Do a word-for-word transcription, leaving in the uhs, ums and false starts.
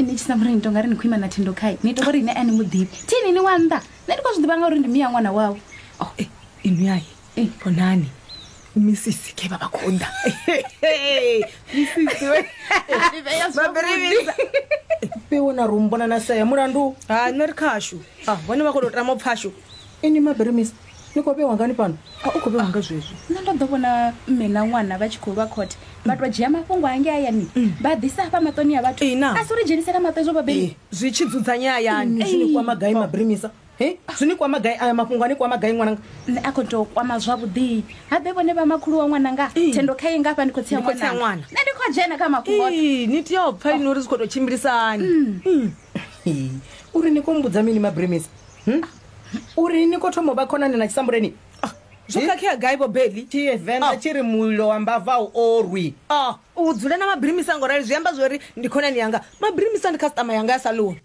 Ini tshisambureni ni tonga ri ni khou ima na thendo khai ni to uri ine a ni muḓivhi thini ni wa nnḓa nṋe ndi khou zwi ḓivha nga uri ndi miya ṅwana wawe. Oh, eh, inwi ai Eh. vhonani misisi ke vha vha khou ḓa. Misisi we Mabirimisa. Fhiwo na rumbona na saya mulandu. Ha nṋe ri khashu. Ah, vhone vha khou tou tama u pfashu. Ini mabirimisa ni khou vhewa ngani fhano? A u khou vhewa nga zwezwi. Nṋe ndo ḓo vhona mme na ṅwana vha tshi khou lwa khothe vha tou dzhia mafhungo ange hayani vha ḓisa hafha maṱoni a vhathu. Ee, na. A si uri dzhenisela maṱo ezwo vhabeli. Zwi tshi dzudzanya hayani. Ini zwi ni kwama gai mabirimisa? He? Zwi ni kwama gai aya mafhungo a ni kwama gai ṅwananga? Nṋe a khou tou kwama zwavhuḓi habe vhone vha makhulu wa ṅwananga thendo khaye ngafha ndi khou tsia Ndi khou tsia ṅwananga ṅwana. nṋe ndi khou dzhena kha mafhungo oṱhe. Ee, ni tea u pfa ini uri zwi khou tou tshimbilisa hani. Hei, uri ni khou mbudza mini mabirimisa? Hm? Uri ni khou thoma u vha khonani na tshisambureni? Zwo khakhea gai vho Beli? Tshivenḓa tshi ri mulilo wa mbava u orwi. Ah, u dzula na mabirimisa ngo rali zwi amba zwori ndi khonani yanga. Mabirimisa ndi customer yanga ya salon.